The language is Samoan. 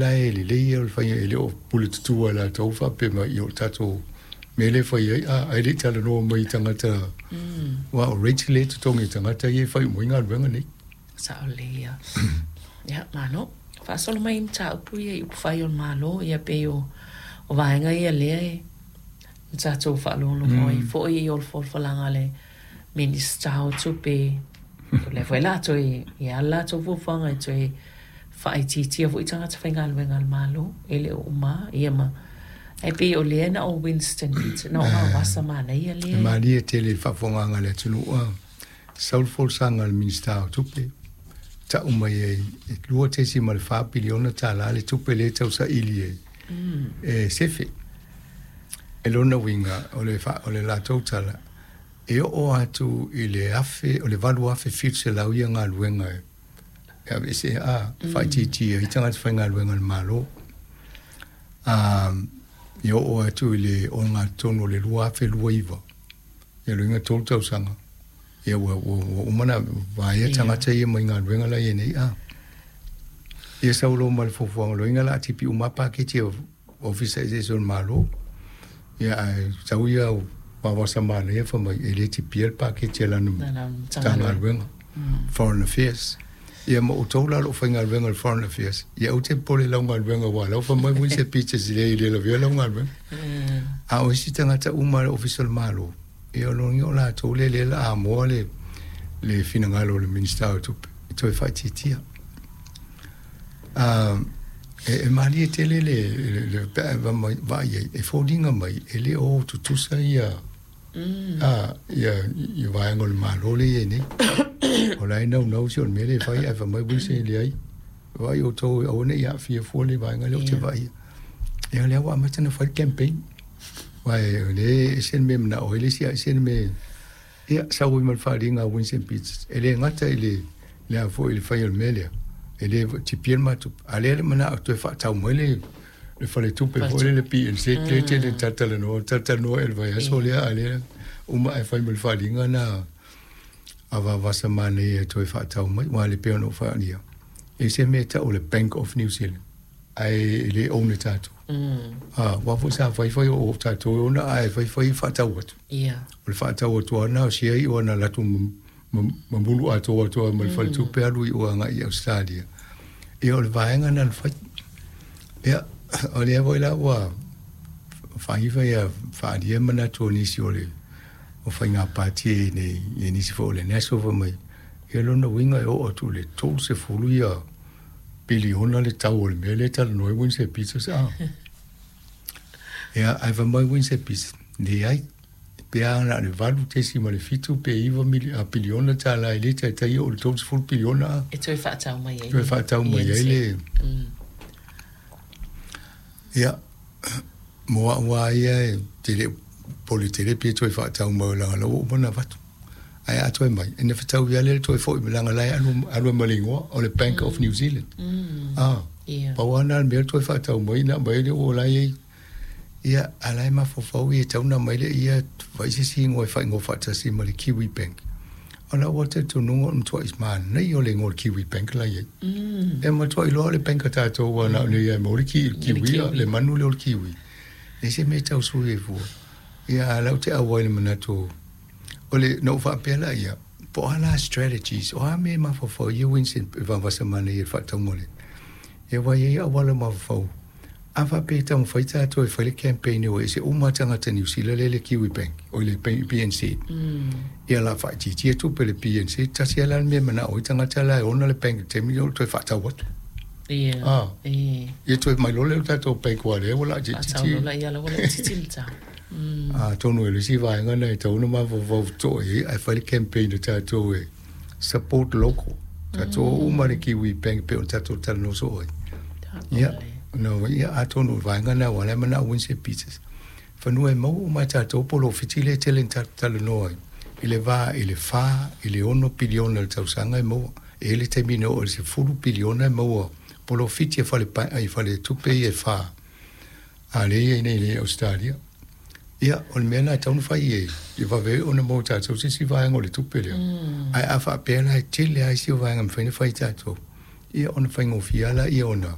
La e lelei ia o le faiga e le o pule tutua e latou faapea mai ia o le tatou mea lea e fai ai, a, ae le i talanoa mai i tagata aua o rates lea e totogi e tagata ia e fai uma ai galuega nei. Sao lelei ia. Ia, malo. Faasolo mai i mataupu ia i upufai o le Malo, ia pei o vaega ia lea e tatou faalogologo ai foi i folafolaga a le Minisita o Tupe, o lea foi o le a toe i ai le latou fuafuaga e toe faaitiitia foi tagata faigaluega a le Malo, e le o uma ia ma ae pei o lea na o Winston Peters, na o Vaovasa manaia lea. E malie tele i le faafofogaaga a le atunuu a sau le folasaga a le Minisita o Tupe, tau mai ai e $2.4 piliona tala le tupe lea e tausaili e, e sefe. E lona uiga o le, o le latou tala, e oo atu i le afe, o le 8,700 ia galuega e aveese a faaitiitia ai tagata faigaluega a le Malo. E oo atu i le ogatotonu o le 2029, ia lona uiga 3 tausaga, ia ua, ua, ua uma ona vaea tagata ia mai galuega la i ai nei. A ia sau loa ma le fuafuaga, lona uiga o le a tipi uma lava paketi a Ofisa eseese o le Malo. Ia ae sau ia Vaovasa manaia fai mai e le tipia le paketi a lana Matagaluega, Foreign Affairs. Ia ma outou la o lo o faigaluega i le Foreign Affairs, ia aua te popole i lau galuega aua o la ua fai mai Winston Peters e leai e le lavea lau galuega. A o isi tagata uma a le Ofisa o le Malo, ia o lona uiga o latou lea o le a moa le finagalo o le Minisita o Tupe e toe faaitiitia. E malie tele le pe a vaai ai, e foliga mai e le o tutusa ia ia vaega o le Malo lea e i ai nei. O la e naunau si o le mea lea e fai, ae fai mai Winston e leai, vaai outou aua ne i aafia fua le vaega lea ou te vaaia. Ia o lea ua amata ona fai le campaign. Aua o lea e ese le mea e manao ai le isi, ae ese le mea. Ia, sau ai ma le faaaliga a Winston Peters, e le gata i le, le a foi i le fai o le mea lea, e le tipia le matou, a lea le manao e toe faatau mai le, le faletupe foi lea le PNZ lea tele talatalanoa, talatalanoa i le vaiaso lea, a lea uma ae fai ma le faaaliga na a Vaovasa manaia e toe faatau mai, aua le pei ona ou faaalia, e se mea e tau o le Bank of New Zealand. Ae e le own e tatou. Aua foi sa fai fai o tatou e ona ae fai fai faatau atu. O le faatau atu lava lena o share i o ana latou mamulu atoa atu lava ma le faletupe alu i o agai i Ausetalia. Ia o le vaega lena na fai. Ia o lea foi la ua fai fai a faaalia manatu o nisi o le o faiga pati nei i nisi foi o le National fai mai ia lona uiga e oo atu i le 30 ia piliona le tau o le mea lea e talanoa ai Winston Peters a. Ia, ae fai mai Winston Peters, leai, pe a na o le 8.7 pe 9 mili, a, piliona tala e le taitai oo i le 30 piliona a. E toe faatau mai ai. Toe faatau mai ai le. Ia, mo au lava ia e te le pole tele pe toe faatau mai leaga o la ua uma ona avatu. Ae a toe mai, ina fetaui lava lea le toe foi leaga la e alu, alu ai ma le igoa o le Bank of New Zealand. Ah, pau lava lena o le mea toe faatau mai na aumai ai le la e i ai. Ia, a la e mafaufau ia e tatau ona aumai lea ia fai se isi igoa e faaigoa faatasi ma le Kiwi Bank. O lau lava talitonuga o le matuai manaia o le igoa o le Kiwi Bank la e i ai. E matuai iloa o le bank a tatou aua na o nei lava e maua le kiwi, le manu lea o le kiwi. E leai se mea e tau sui ai fua. Ia, a o lea ou te auai i le manatu O le, na ou faapea la ia, po o a la strategies, o a mea e mafaufau ai ia Winston e vavasa manaia i le faatauga o le, ia aua e i ai auala mafaufau. A faapea e taumafai tatou e fai le campaign e o ese uma tagata Niu Sila lea i le Kiwi Bank, oi le BNZ. Ia o le a faaitiitia tupe a le BNZ, tasi lava la le mea e manao ai tagata la e ona le bank i le taimi lea o le toe faatau atu. Ia, Ah, ia toe mai loa lea o le tatou bank aua o lea ua laitiiti. Faatau loa la, ia la ua laitiiti le tau. Atonu e le isi vaega lena e tatau ona mafaufau totoa i ai ae fai le campaign a tatou e support local. Tatou uma le Kiwi Bank pei ona tatou talanoa soo ai. Ia, no, ia atonu o le vaega lena aua o la e manao Winston Peters. Fanua e maua uma e tatou polofiti lea e tele ina tatou talanoa ai i le va i le 4 i le 6 piliona i le tausaga e maua. E i ai le taimi na oo i le 10 piliona e maua polofiti a fale, i faletupe ia e 4. A lea e i ai nei i Ausetalia. Ia, o le mea lena e tatau ona fai e ia vave ai ona maua e tatou se isi vaega o le tupe lea. Ae a faapea la e tele lava isi vaega e mafai ona fai e tatou, ia ona faigofie lava lea ona